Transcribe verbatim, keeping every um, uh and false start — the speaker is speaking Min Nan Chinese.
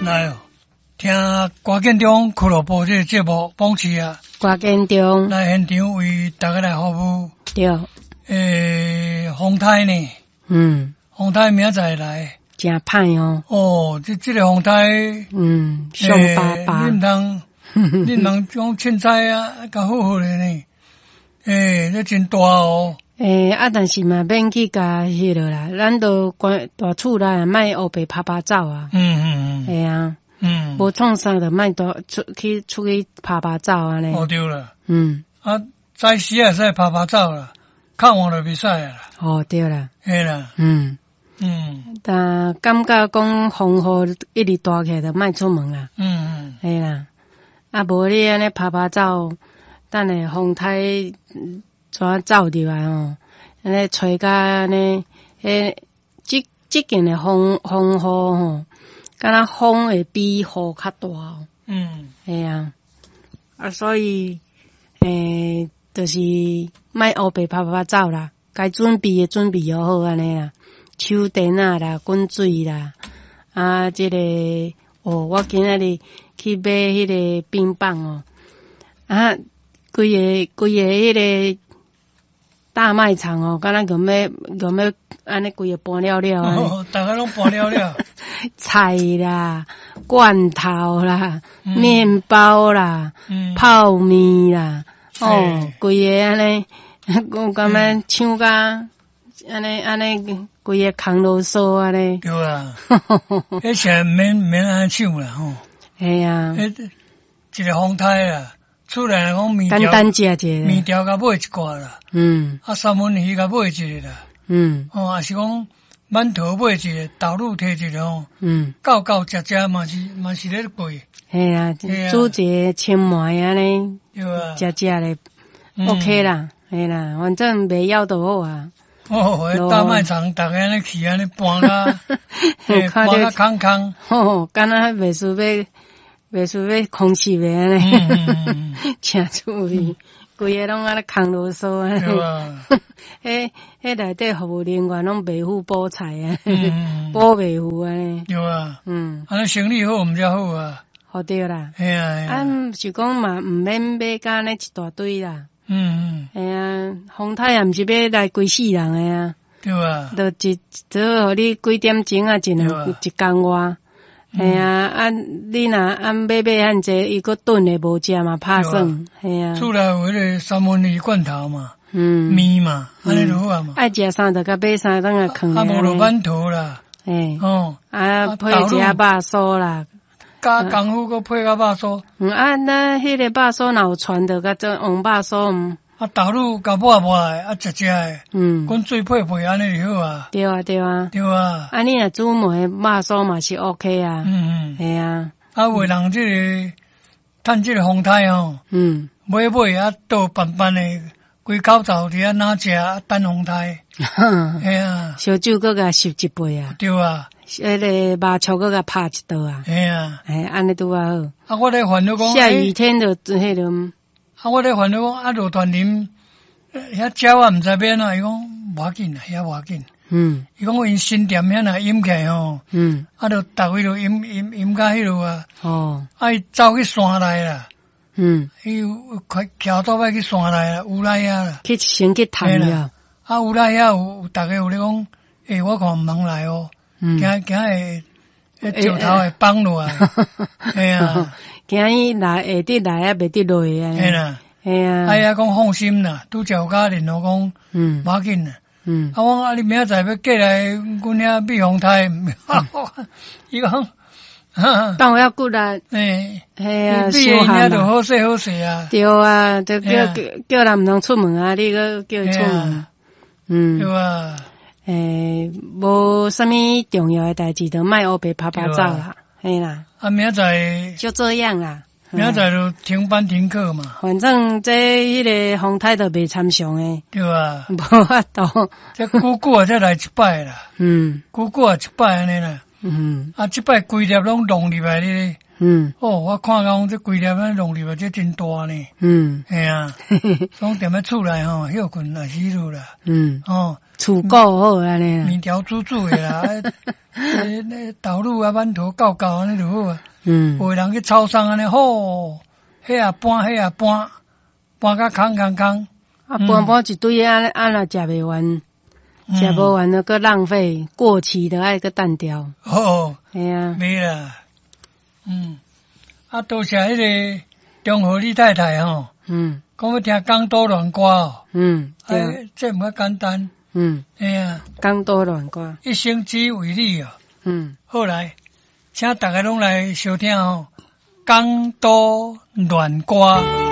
來哦，聽歌建中俱樂部這個節目，講起啊，歌建中來現場為大家來服務。對，欸，風颱呢？嗯，風颱明仔載來，誠歹哦。哦，這這個風颱，嗯，上巴巴。你毋通，你毋通講凊彩啊，較好好的呢。欸，這真大哦。欸，啊，但是嘛，免去共彼落啦，咱都關蹛厝內，莫烏白趴趴走啊。嗯嗯嗯。會啊。嗯。無創啥就莫蹛出去出去趴趴走按呢。哦，對啦。嗯。啊，早時會使趴趴走啦，較晚就袂使啦。哦，對啦。嘿啦。嗯。嗯。但感覺講風雨一直大起來，就莫出門啦。嗯嗯。嘿啦。啊，無你按呢趴趴走，等下風颱怎走入來吼？按呢吹甲按呢，彼這這近的風風雨吼，敢若風會比雨較大哦。嗯。嘿啊，啊，所以，欸，就是莫烏白趴趴走啦，該準備的準備好按呢啦，手電仔啦，滾水啦，啊，這個哦，我今仔日去買彼個冰棒哦，啊，規个規个彼個大賣場哦，敢若共欲共欲按呢規个搬了了按呢。逐家攏搬了了。菜啦，罐頭啦，麵包啦，泡麵啦，哦，規个按呢，我感覺搶甲按呢按呢，規個空囉嗦按呢。對啊，彼時毋免毋免按呢搶啦吼。嘿啊。彼一個風颱啊，厝內講麵條，簡單食一下。麵條共買一掛啦。嗯。啊，三文魚共買一個啦。嗯。哦，抑是講饅頭買一個，豆乳提一個吼。嗯。夠夠食食嘛是嘛是咧過。嘿啊，煮一個清糜按呢，對啊。食食咧，OK 啦，嘿啦，反正袂枵就好啊。哦，大賣場逐家按呢去按呢搬甲，搬甲空空。吼，敢若袂輸欲袂輸欲空襲的按呢，誠趣味，規个攏按呢空囉嗦按呢。對啊。彼彼內底服務人員攏袂赴補菜啊，補袂赴按呢。對啊。嗯。按呢生意好毋才好啊。好對啦。嘿啊。啊，是講嘛，毋免買甲按呢一大堆啦。嗯嗯。嘿啊，風颱也毋是欲來規世人的啊。對啊。就一，就予你幾點鐘啊，一兩一工外。嘿啊，啊，你若按買買遐濟，伊閣燉的無食嘛，拍算。嘿啊。厝內有彼個三文魚罐頭嘛，嗯，麵嘛，按呢就好啊嘛。愛食啥就共買啥，轉來囥。啊，無就饅頭啦。嘿。哦。啊，配一下肉酥啦。加功夫閣配較肉酥。嗯，啊，咱彼個肉酥若有傳就共做黃肉酥毋。啊，豆乳共抹抹的，啊，食食的。嗯。滾水配配按呢就好啊。對啊，對啊。對啊。啊，你若煮糜肉酥嘛是 OK 啊。嗯嗯。嘿啊。啊，有的人這個趁這個風颱吼，嗯，買買啊倒慢慢的，規口罩佇遐哪食啊等風颱。嘿啊。燒酒閣共擤一杯啊。對啊。彼個肉蕎閣共拍一道啊。嘿啊。嘿，按呢拄仔好。啊，我咧煩惱講。下雨天就彼個。啊，我咧煩惱講啊，落團林遐鳥仔毋知欲按怎，伊講無要緊啦，遐無要緊。嗯。伊講𪜶新店遐若淹起來吼，嗯。啊，就逐位就淹淹淹甲彼落啊。哦。啊，伊走去山內啦。嗯。伊有開徛倒擺去山內啦，烏來遐啦。去先去探了。啊，烏來遐有逐家有咧講，欸，我看毋通來哦，驚驚會彼石頭會崩落來。嘿啊。驚伊來會得來啊，袂得落啊。嘿啦。嘿啊。啊，遐講放心啦，拄才有佮聯絡講，嗯，無要緊啦。嗯。啊，我講啊，你明仔載欲過來阮遐避風颱，伊講，當有骨力。欸，嘿啊，你避遐就好勢好勢啊。對啊，就叫叫人毋通出門啊，你閣叫伊出門。嗯。對啊。欸，無啥物重要的代誌，就莫烏白趴趴走啦，嘿啦。啊，明仔載就這樣啦。明仔載就停班停課嘛。反正這彼個風颱都袂參詳的。對啊。無法度。這久久啊，才來一擺啦。嗯。久久啊，一擺按呢啦。嗯。啊，這擺規粒攏弄入來咧。嗯。哦，我看講這規粒按呢弄入來，這真大呢。嗯。嘿啊。總踮咧厝內吼，歇睏也是彼落啦。嗯。哦。厝顧好按呢啦。麵條煮煮的啦，欸豆乳啊饅頭夠夠按呢就好啊。嗯。有的人去超商按呢，吼，彼也搬，彼也搬，搬甲空空空。啊，搬搬一堆按呢按若食袂完，食無完就閣浪費，過期的愛閣擲掉。哦，嘿啊。袂啦，嗯，啊，多謝彼个中和李太太吼，嗯，講欲聽港都戀歌哦，嗯，對，欸，這毋較簡單，嗯，嘿啊，港都戀歌，一生只為你哦，嗯，好來，請逐家攏來收聽吼，港都戀歌。